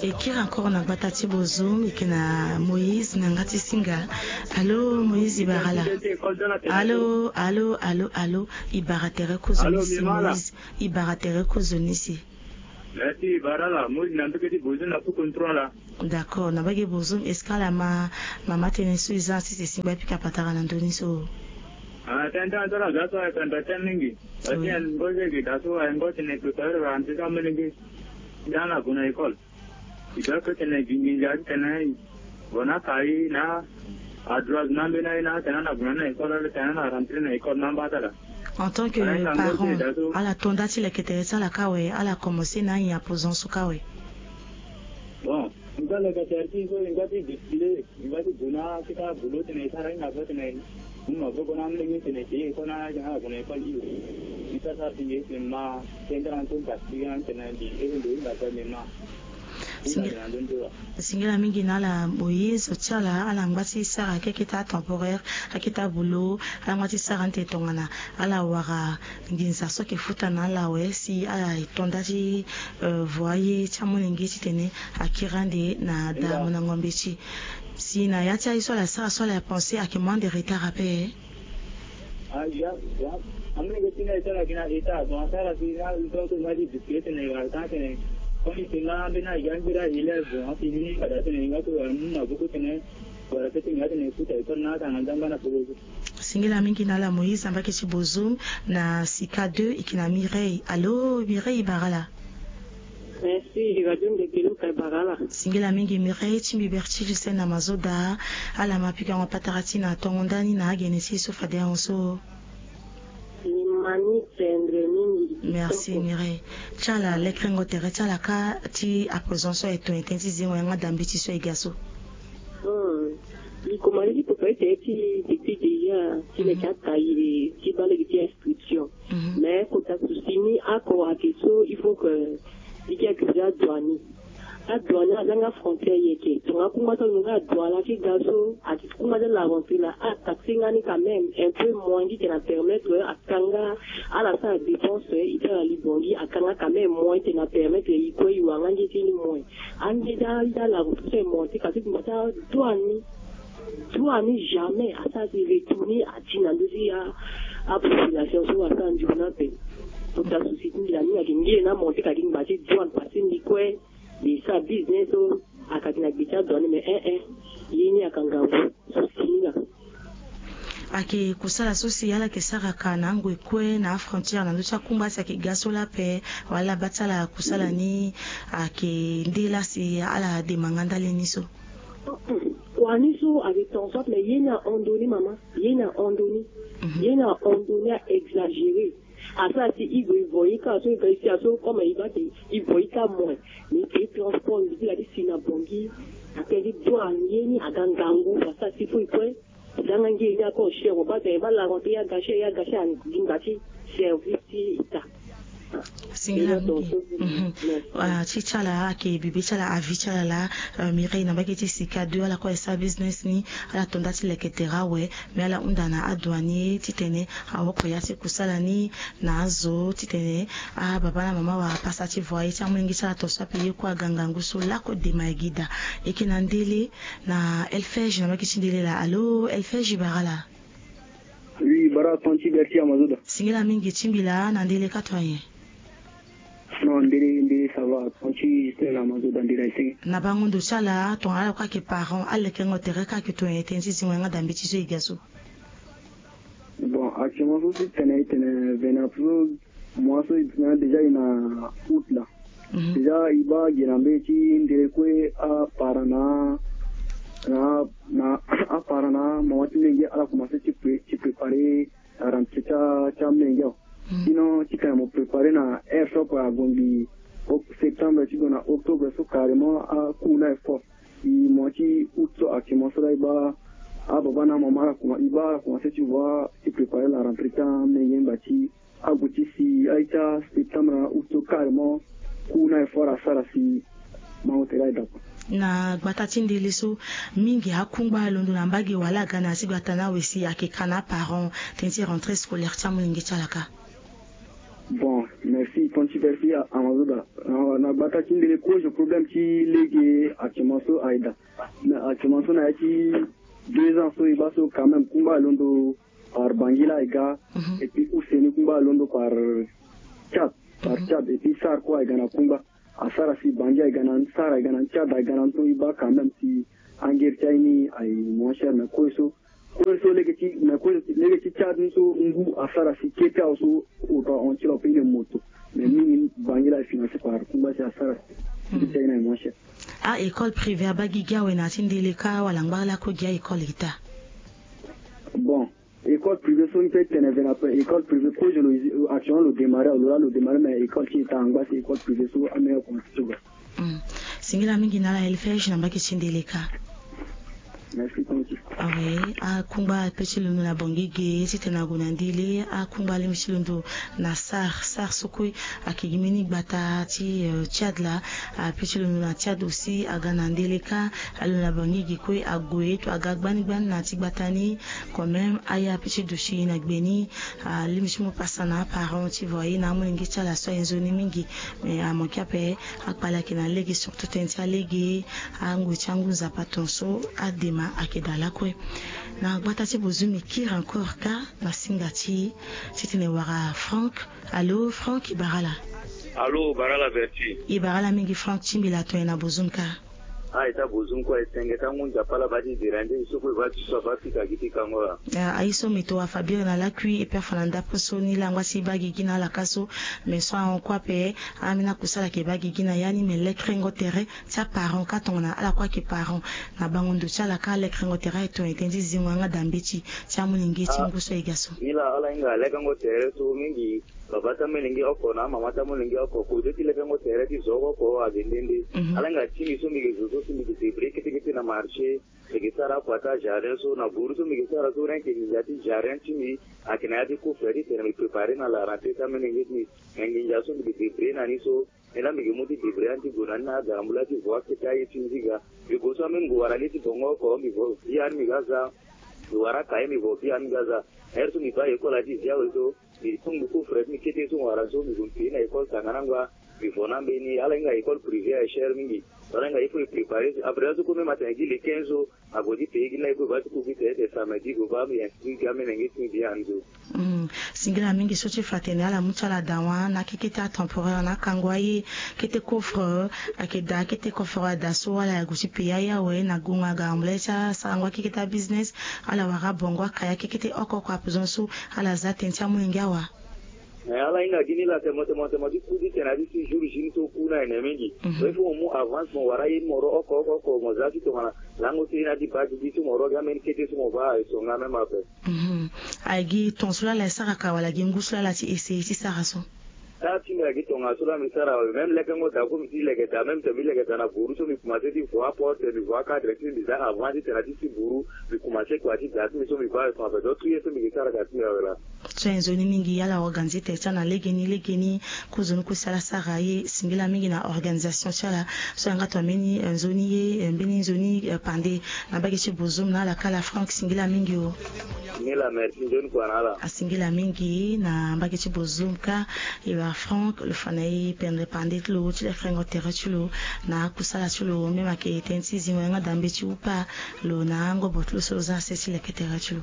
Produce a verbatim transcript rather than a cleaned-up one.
E kiri encore na gbata ti bozo, e yeke na Moïse na yanga ti singa. Allô Moïse, e bara ala? Allô, allô, allô, allô. E bara tere kozo ni si Moïse. E bara tere kozo ni si. Merci, e bara ala Moïse na mbege ti bozo na Poukon trois la. D'accord, na mbage bozo, est-ce que ala ma mama tënë so e za si e singba e pika patara na ndö ni so? Ah, tënë ti ala so ayeke anda tënë mingi. Parce que ngozi ayeke daa so, aye ngozi tene e préparer rentrée ti amolenge ti ala gue na école. E doit que tene e gi nginza titene e gue na kai na adroit na ambeni aye na atene ala gue na ni na école, ala tene ala rentrée na école na amba ti ala. En tant que parent, ala to nda ti leke tere ti ala kâ awe, ala commencer na anyen apo zo so kâ awe? Bon, e nga leke tere ti e so, e nga ti décider, e nga ti gue na akita boulot tene e sara hinga ape tene e mu maboko na amolenge tene e te école na ala gue na école. Iri e sara sara ti nge tene ma tënë ti ala so, parce que tene mbi iri ndo hinga ape, mais ma Singila mingi na ala Moïse, ti ala ala ngba ti sara akita temporaire, akita boulot, ala ngba ti sara ni tene tongana ala wara nginza so ayeke futa na ala awe si ala to nda ti, euh, voyer ti amolenge titene akiri ande na da mo na ngombe ti. Si na ya ti aye so ala sara so ala pensé ayeke moins de retard ape. Ah, ya, ya. Amolenge ti nga e sara gi na état, bon, asara si na, donc, nga ti discuter tene, wala tene, comme tene nga ambeni aye ambeni aélève, bon, afini fada tene nga so wala mu maboko tene, wala peut-être nga tene futa école na atanga nzangba na polozo. Singila mingi na ala Moïse na mbage ti bozo na Sika deux, e yeke na Mireille. Allô Mireille, e bara ala? Merci, Radio Ndekelu, ka e bara ala. Singila mingi Mireille, ti mbi Bertille Sena Mazoda, ala ma pikango patara ti na tongo ndani na agene ti e so fade ahon so. Ni ma ni tendre mingi. Merci Mireille. Ti ala, lekerengo tere ti ala kâ ti apo zo so aye tongana tënë ti zingo yanga da mbeti so e ga so. Hmm. E komanse ti préparer tere ti depuis déjà ti leke akaye ti baa lege ti inscription. Mhm. Mais kota souci ni oko ayeke so, il faut que e yeke déjà adouane. Adouane azanga frontière yeke. Tongana akungba so alingbi nga adouane ala ti ga so, ayeke kungba ti ala rentrée la, ataxe nga ni quand même un peu moins, ngi tene apermettre akanga ala sara dépense, e ti ala li Bangui, akanga quand même moins tene apermettre e kue e wara nga nge ti ni moins. Ange ti ala rentrée so e monter, kasi ti mba ti adouane ni. Droit ni jamais asara si retourner ati na ndö ti a, apopulation so asara nzoni ape. Kota souci ti mbi la ni ayeke nge na monter kadi ngba ti douane parce que mbi kue mbi sara business so akati na gbe ti adouane mais eh eh. Ye ni ayeke ngangu souci ni la. Ayeke kusala so si ala yeke sara ka na angoi kue na afrontière na ndö ti akungba si ayeke ga so la ape, wala baa ti ala kusala ni ayeke nde la si ala dema nga ndali ni so? Kua ni so ayeke tongaso ape, mais ye ni ahon ndoni mama, ye ni ahon ndoni. Mhm. Ye ni ahon ndoni, a exagéré. Asara si e gue e voyer kâ so, e ga e si aso comme e baa ti e voyer kâ moins. Mais e transport mbi ti ga ti si na Bangui, atene ti douane ye ni aga ngangu, asara si fo e kue zanga nge ni ako cher, mo baa tene e baa la rentrée ya gâché, ya gâché, alingba ti service ti État. Singila mingi. Mhm. Ah, ti ti ala ayeke bibe ti ala, avis ti ala laa, euh, Mireille na mbage ti Sika deux, ala kue ayeke sara business ni, ala to nda ti leke tere awe, mais ala hunda na adouanier titene awoko ya ti kusala ni na azo titene ababa na mama wara pasa ti voyer ti amolenge ti ala, tongaso ape ye kue aga ngangu so lakue dema e gi daa. E yeke na ndele na Elfège na mbage ti ndele laa. Allô Elfège, e bara ala? Oui, bara tonga ti Bercy Amazoda. Singila mingi ti mbi laa, na ndele ka tonga nyen? Non, ndele, ndele ça va, tonga ti Justin na Amazoda, ndele ayeke senge. Na bango ndo ti ala, tongana ala kue ayeke parent, alekengo tere kâ ayeke tongana nyen tënë ti zingo yanga da mbeti so e ga so? Bon, actuellement so si tene e tene vene ape so, mois so e tene déjà e na août la. Mhm. Déjà e baa gi na mbeti ti ndele kue, aparent na, na, na, aparent na mama ti menge ala commencé ti pré-, ti préparer la rentrée ti a, ti amenge awe. Mhm. Sinon ti tene mo préparer na heure so ape, agongi o-, septembre ti gue na octobre so carrément acours ni aye fort. E mois ti août so actuellement so la e baa ababa na amama ala commencé, e baa ala commencé ti voir ti préparer la rentrée ti amenge ngba ti ague ti si aye ti aseptembre na août so carrément, cours ni aye fort asara si bango tere aye daa kua. Na gbata ti ndele so, mingi akungba alondo na mbage wala aga na ya ti gbata ni awe si ayeke ka na aparent tënë ti rentrée scolaire ti amolenge ti ala kâ? Bon, merci ton ti versi. Amazoda na gbata ti ndele kozo problème ti lege actuellement so aye daa. Mais actuellement so na ya ti deux ans so e baa so quand même kungba alondo par Bangui la aye ga. Et puis use ni kungba alondo par Tchad, par Tchad. Et puis sar kue aye ga na kungba. Asara si Bangui aye ga na sar aye ga na Tchad aye ga na nton e baa quand même si angeri ti aye ni aye moins cher. Mais kue so kue so lege ti mais kue lege ti Tchad ni so ngu asara si kete awe so oto ahon ti lo ape ni moto. Mais mingi Bangui la aye financé par kungba si asara si kete aye ni aye moins cher. A école privée abaa gigi awe na ya ti ndele ka wala ngba lakue gi a école ita? Bon, école privée so mbi pe tene vena pe école privée kozo lo actuellement lo démarré awe lo la lo démarré mais école ti ita angba si école privée so ameni akomanse ti ga. Singila mingi na ala Elfège na mbage ti ndele ka. Merci ton ti. Awe, akungba ape ti londo na Bangui ge titene ague na ndele akungba alingbi ti londo na sar sar so kue. Ayeke gi mbeni gbata ti Tchad laa. Ape ti londo na Tchad aussi aga na ndele ka. Alondo na Bangui ge kue ague to aga gbani gbani na ya ti gbata ni. Quand même aya ape ti duti na gbe ni. Alingbi ti mu pasa na aparent ti vo aye na amolenge ti ala so aye nzoni mingi. Mais amanke ape akpale ayeke na lege surtout tënë ti alege. Angoi ti angu nzapa ton so adema ayeke daa lakue. Na gbata ti bozumi kiri encore ka na singa ti titene wara Franck. Allo Franck, e bara ala? Allo, bara ala Verti. E bara ala mingi Franck, ti mbi la ton ye na bozumi ka. A ita bozumi kue aye senge ti angu nzapa ala baa ti dérangé so kue baa ti so abaa fika gi ti kango la. Aye so mbi to wa fabiri na lakui e pe afa na ndapre so ni la ngba si e baa gigi na ala ka so. Mais so ahon kue ape. Ambeni akusala ayeke baa gigi na ya ni mais lekerengo tere ti aparent ka tongana ala kue ayeke parent. Na bango ndo ti ala ka lekerengo tere aye ton ete ndi zingo yanga da mbeti ti amolenge ti ngu so aye ga so. Ni la ala hinga lekerengo tere so mingi. Baba ti amolenge oko na amama ti amolenge oko kozo ti lekerengo tere ti zo oko oko ade nde nde. Ala hinga ti mbi so mbi yeke zo so si mbi yeke débrouiller kete kete na marché. Mbi yeke sara akua ti ajardin so na buru so mbi yeke sara so rien que nginza ti jardin ti mbi. Ayeke na ya ti coffre titene mbi préparer na la rentrée ti amolenge ti mbi. Me nginza so mbi yeke débrouiller na ni so. Ni la mbi yeke mu ti débrouiller ni ti gue na ni na agarambula ti vo akete aye ti mbi ti ga. Mbi gue so ambeni ngu wara li ti bongo oko mbi vo bia ni mbi ga za. Mbi wara akaye mbi vo bia ni mbi ga za. Heure so mbi baa école ati zi awe so. Mbi tongbi coffre ti mbi kete so wara so mbi gue mbi payer na école tangana angba. Mbi vo na ambeni ala hinga école privée aye cher mingi. Ala hinga il faut e préparer so après la so kue même atene gi le quinze so. Ague ti payer gi ni la e kue baa ti ku gi tere ete samedi gue baa mbi inscrit gi amolenge ti mbi bien anzo. Singila mingi so ti fa atene ala mu ti ala dawa na akekete atemporaire na akango aye. Kete coffre ayeke daa kete coffre ada so ala ya gue ti payer aye awe na gongo aga ambulance ti asarango akekete abusiness. Ala wara abongo akaye akekete oko oko ape zo so. Ala za tënë ti amolenge awa. Mais ala hinga gi ni la tene mo tene mo tene mo ti ku ti tene na ti si jour jini so ku ni ayene mingi. Donc il faut mo mu avance mo wara ye ti mo ro oko oko oko mo za ti tongana lango ti ye ni ati baa gigi so mo ro gi ambeni kete so mo baa aye so nga même ape. Aye gi ton so lala e sara ka wala gi ngu so lala ti essayer ti sara so? Sara ti mbi ayeke tongaso la mbi sara awe même lekengo daa kue mbi ti leke daa même tene mbi leke daa na buru so mbi komanse ti vo aporte mbi vo akadre ti mbi za avant titene na ti si buru. Mbi komanse kua ti daa ti mbi so mbi baa awe so ape donc tout ye so mbi yeke sara ka ti mbi awe laa. So aye nzoni mingi ala organisé tere ti ala na legeni legeni. Kozoni kue si ala sara ye singila mingi na organisation ti ala. So ayanga tongana mbeni nzoni ye mbeni nzoni pande na mbage ti bozom na ala kala Franck singila mingi o. Ni la merci nzoni kua na ala. Asingila mingi na mbage ti bozom ka. E wara Franck lo fa na e pendere pande ti lo ti lekerengo tere ti lo na akusala ti lo même ayeke tënë ti zingo yanga dambe ti upa lo na angobo ti lo so lo za na se ti leke tere ti lo.